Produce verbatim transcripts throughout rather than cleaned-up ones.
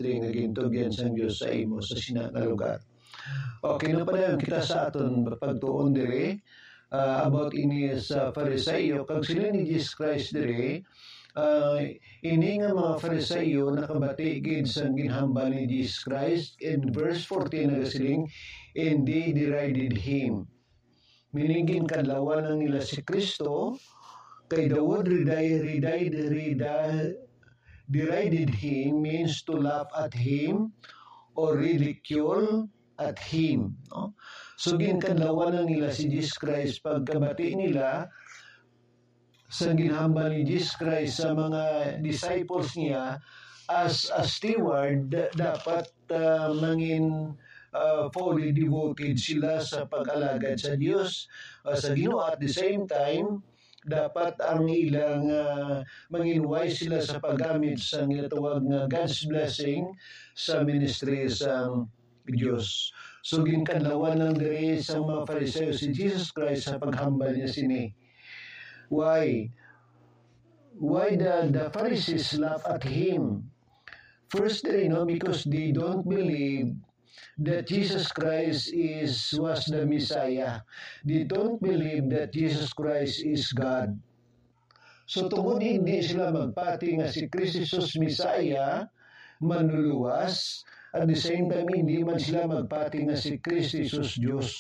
ministry nga gintugyan sang Dios sa imo sa sina nga lugar. Okay, no, padayon kita sa aton pagtuon diri, ah, about ini sa Fariseo, kag siling ni Jesus Christ diri, ah, ini nga mga Fariseo nakabati gid sang ginhambal ni Jesus Christ. In verse fourteen nagasiling, "And they derided him." Meaning, ginkadlawan lang nila si Kristo, kay the word redi-, redi-, redi-, derided him means to laugh at him or ridicule at him, no? So, ginkadlawan lang nila si Jesus Christ pagkabati nila sa ginhambal ni Jesus Christ sa mga disciples niya. As a steward, da-, dapat, ah, mangin, ah, fully devoted sila sa pag-alagad sa Dios, ah, sa Ginoo. At the same time, dapat ang ilang, ah, mangin wise sila sa paggamit sa ginatawag nga God's blessing sa ministry sa Dios. So, ginkadlawan lang diri sa mga Fariseo si Jesus Christ sa paghambal niya sini. Why? Why the, the Pharisees laugh at him? First, they know because they don't believe that Jesus Christ is, was the Messiah. They don't believe that Jesus Christ is God. So, tungod hindi sila magpati nga si Kristo Jesus Messiah, manluluwas, at the same time, hindi man sila magpati nga si Kristo Jesus Dios.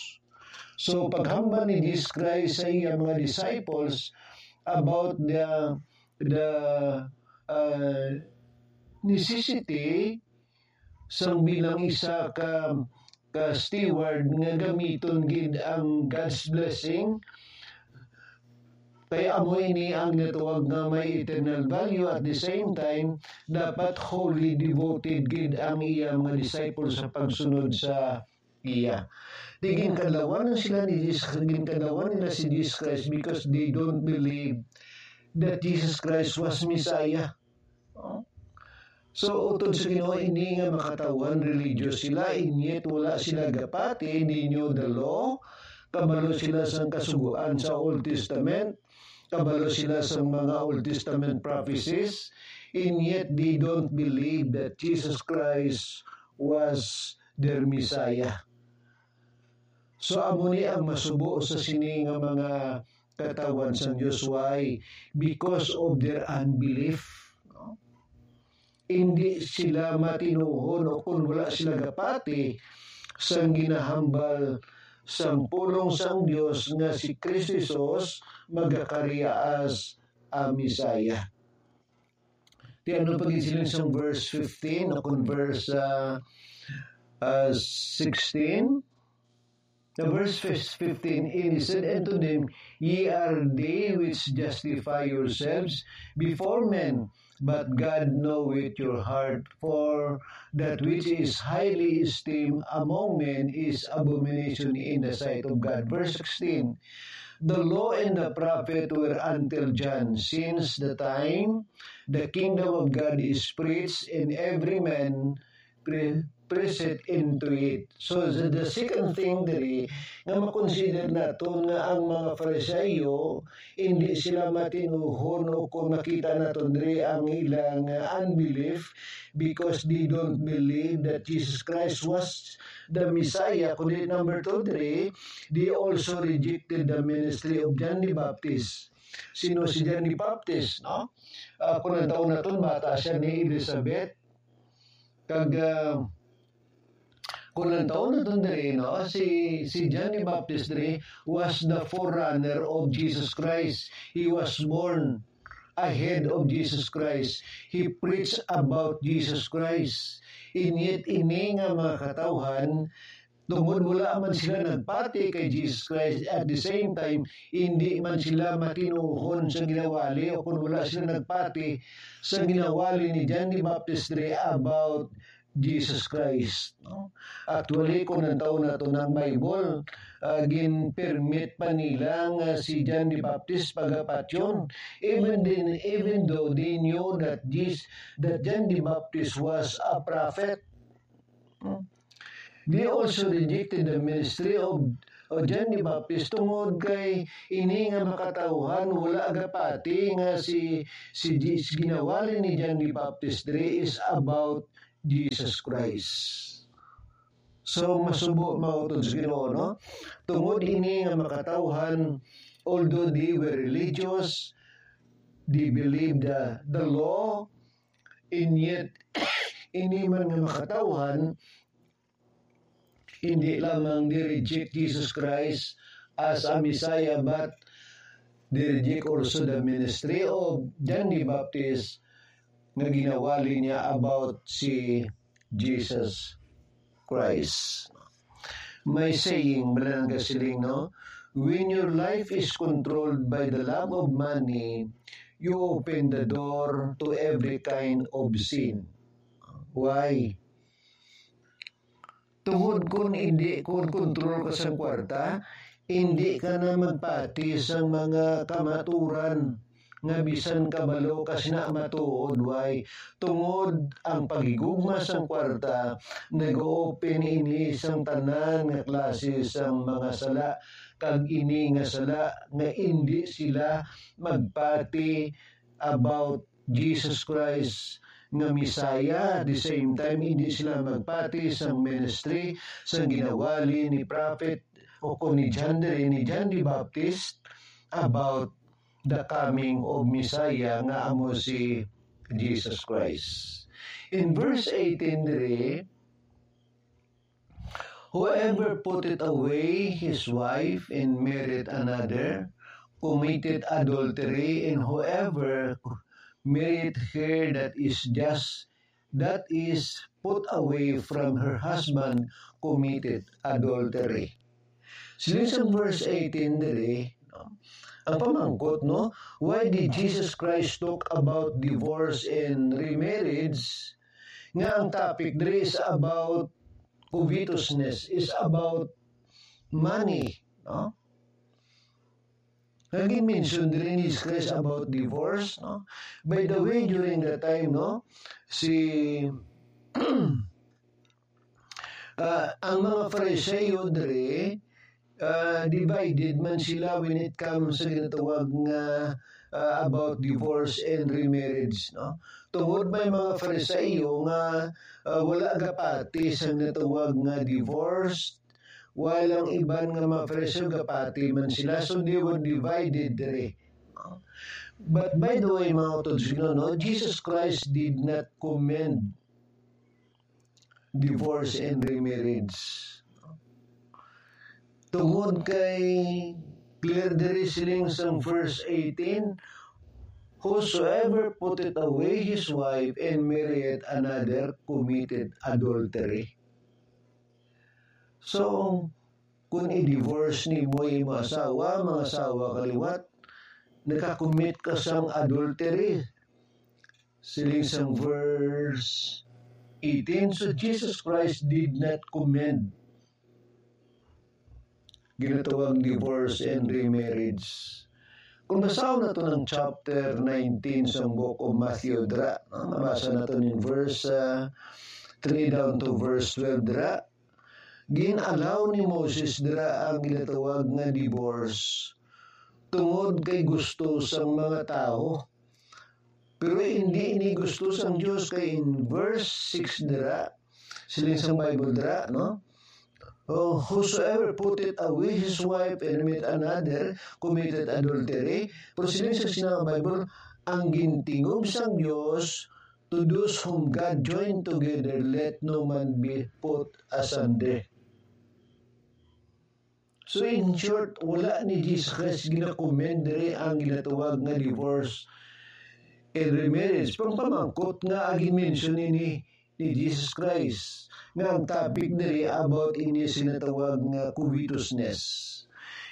So, paghambal ni Jesus Christ sa iya mga disciples about the, the, uh, necessity sang bilang isa ka, ka steward nga gamiton gid ang God's blessing, kay amo ini ang ginatawag nga may eternal value. At the same time, dapat wholly devoted gid ang iya mga disciples sa pagsunod sa iya. Di ginkadlawan sila ni Jesus, ginkadlawan nila si Jesus Christ because they don't believe that Jesus Christ was Messiah. Oh. So, utod sa Ginoo ini nga makatawhan religious sila, and yet wala sila gapati, they knew the law, kabalo sila sang kasugoan sa Old Testament, kabalo sila sang mga Old Testament prophecies, and yet they don't believe that Jesus Christ was their Messiah. So, amo ni ang masubo sa sini nga mga katawhan sang Dios. Why? Because of their unbelief. No? Hindi sila matinuhon o kung wala sila gapati sang ginahambal sang pulong sang Dios nga si Cristo Jesus magakari as a Messiah. Ti ano pa gid siling sang verse fifteen o kung verse, ah, ah, sixteen? The verse fif-, fifteen, and he said unto them, "Ye are they which justify yourselves before men, but God knoweth your heart, for that which is highly esteemed among men is abomination in the sight of God." Verse sixteen, "The law and the prophet were until John, since the time the kingdom of God is preached, and every man pre-, presseth into it." So, the, the second thing diri nga makonsider naton nga ang mga Fariseo, hindi sila matinuhon, o kung makita naton diri ang ilang, uh, unbelief, because they don't believe that Jesus Christ was the Messiah. Kundi number two diri, they also rejected the ministry of John the Baptist. Sino si John the Baptist, no? Ah, kung ang taon naton, bata siya ni Elizabeth. Kag, ah, kung ang taon naton diri, no, si, si John the Baptist diri was the forerunner of Jesus Christ. He was born ahead of Jesus Christ. He preached about Jesus Christ. And yet, ini nga mga katawhan, tungod wala man sila nagpati kay Jesus Christ, at the same time, hindi man sila matinuhon sa ginawali, o kung wala sila nagpati sa ginawali ni John the Baptist diri about Jesus Christ, no? Actually, kung ang taon naton ang Bible, ah, gin-permit pa nila nga si John the Baptist pagapatyon. Even then, even though they knew that this, that John the Baptist was a prophet, no? They also rejected the ministry of, of John the Baptist tungod kay ini nga makatawhan wala gapati nga si, si, si ginawali ni John the Baptist diri is about Jesus Christ. So, masubo, mga utod sa Ginoo, no? Tungod ini nga makatawhan, although they were religious, they believed the, the law, and yet, ini man nga makatawhan, hindi lamang ni-reject Jesus Christ as a Messiah, but they reject also the ministry of John the Baptist nga ginawali niya about si Jesus Christ. May saying, balaan nga siling, no? "When your life is controlled by the love of money, you open the door to every kind of sin." Why? Tungod kun hindi, kun kontrol ka sang kwarta, hindi ka na magpati sang mga kamaturan nga bisan kabalo ka sina matuod, way. Tungod ang paghigugma sang kwarta, nag-open ini sang tanan nga klase sang mga sala, kag ini nga sala nga indi sila magpati about Jesus Christ nga Messiah. At the same time, hindi sila magpati sang ministry, sang ginawali ni prophet o kon ni John, diri ni John the Baptist, about the coming of Messiah nga amo si Jesus Christ. In verse eighteen diri, "Whoever putteth away his wife and marrieth another committeth adultery, and whoever marrieth her that is just, that is put away from her husband, committeth adultery." Siling sang verse eighteen diri, no? Ang pamangkot, no? Why did Jesus Christ talk about divorce and remarriage? Nga ang topic diri is about covetousness, is about money, no? Nga gin-mention diri ni Jesus Christ about divorce, no? By the way, during that time, no, si, ah, ang mga Fariseo diri, ah, divided man sila when it comes sa ginatawag nga, ah, about divorce and remarriage, no? Tungod may mga Fariseo nga, ah, wala gapati sa ginatawag nga divorce, while ang iban nga mga Fariseo gapati man sila, so they were divided diri. But by the way, mga utod sa Ginoo, no, Jesus Christ did not commend divorce and remarriage. Tungod kay clear diri siling sang verse eighteen, "Whosoever putteth away his wife and marrieth another committeth adultery." So, kung i-divorce nimo imong asawa, mga asawa kaliwat, nakakommit ka sang adultery. Siling sang verse eighteen, so Jesus Christ did not commend ginatawag divorce and remarriage. Kung basahon nato ang chapter nineteen sang Book of Matthew, dira, no? Mabasa nato ning verse, ah, three down to verse twelve, dira. Gin-allow ni Moses dira ang ginatawag nga divorce tungod kay gusto sang mga tawo. Pero hindi ini gusto sang Dios, kay in verse six dira, siling sang Bible dira, no? "Oh, whosoever putteth away his wife and marrieth another committeth adultery." Pero siling sa, siling sang Bible, "Ang gintingog sang Dios, to those whom God joined together, let no man be put asunder." So, in short, wala ni Jesus Christ ginakomend diri ang ginatawag nga divorce and remarriage. Pangpamangkot nga agi mention ini ni Jesus Christ, nga ang topic diri about ini sa ginatawag nga covetousness.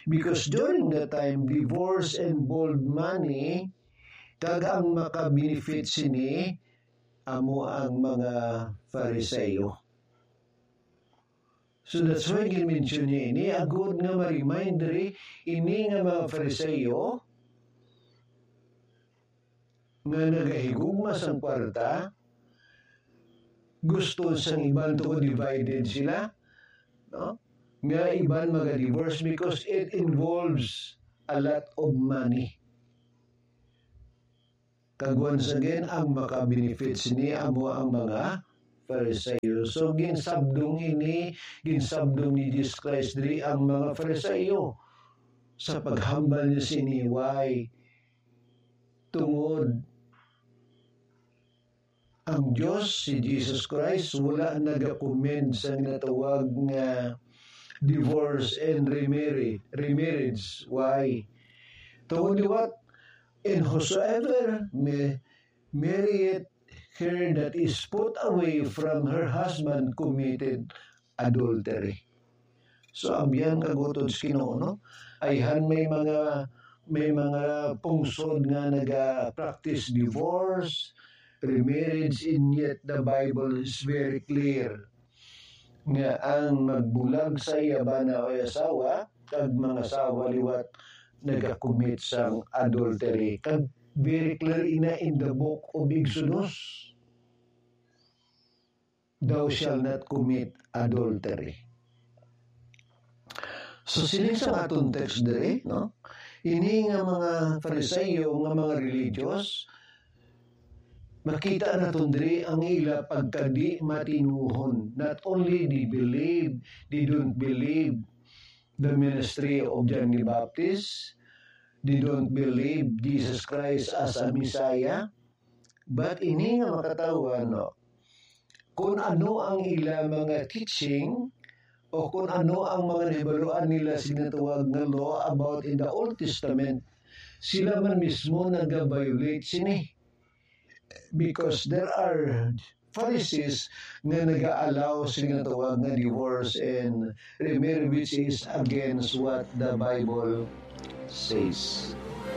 Because during that time, divorce involved money, kag ang makabenefit sini amo ang mga Fariseo. So that's why gin-mention niya ini, agod nga ma-remind diri ini nga mga Fariseo nga nagahigugma sang kwarta, gusto sang iban, tungod divided sila, no? Nga iban maga-divorce because it involves a lot of money. Kag once again, ang maka-benefit sini amo ang mga Fariseo. So, ginsabdong ini, ginsabdong ni Jesus Christ diri ang mga Fariseo sa paghambal niya sini. Why? Tungod ang Dios, si Jesus Christ, wala nagakomend sa ginatawag nga divorce and remarry, remarriage. Why? Tungod liwat, "And whosoever may marrieth her that is put away from her husband committed adultery." So, abyan kag utod sa Ginoo, no? Ayhan may mga, may mga pungsod nga naga-practice divorce, remarriage, and yet the Bible is very clear nga ang magbulag sa iya bana o asawa kag mangasawa liwat nagakomit sang adultery. Kag very clear ina in the book of Exodus, "Thou shalt not commit adultery." So, siling sa aton text diri, no? Ini nga mga Fariseo, nga mga religious, makita naton diri ang ila pagkadi matinuhon. Not only they believe, they don't believe the ministry of John the Baptist, they don't believe Jesus Christ as a Messiah, but ini nga makatawa, no, kung ano ang ila mga teaching o kung ano ang mga nahibaluan nila sa ginatawag nga law about in the Old Testament, sila man mismo nag-violate sini. Because there are Pharisees nga nag-allow sa ginatawag nga divorce and remarry, which is against what the Bible says.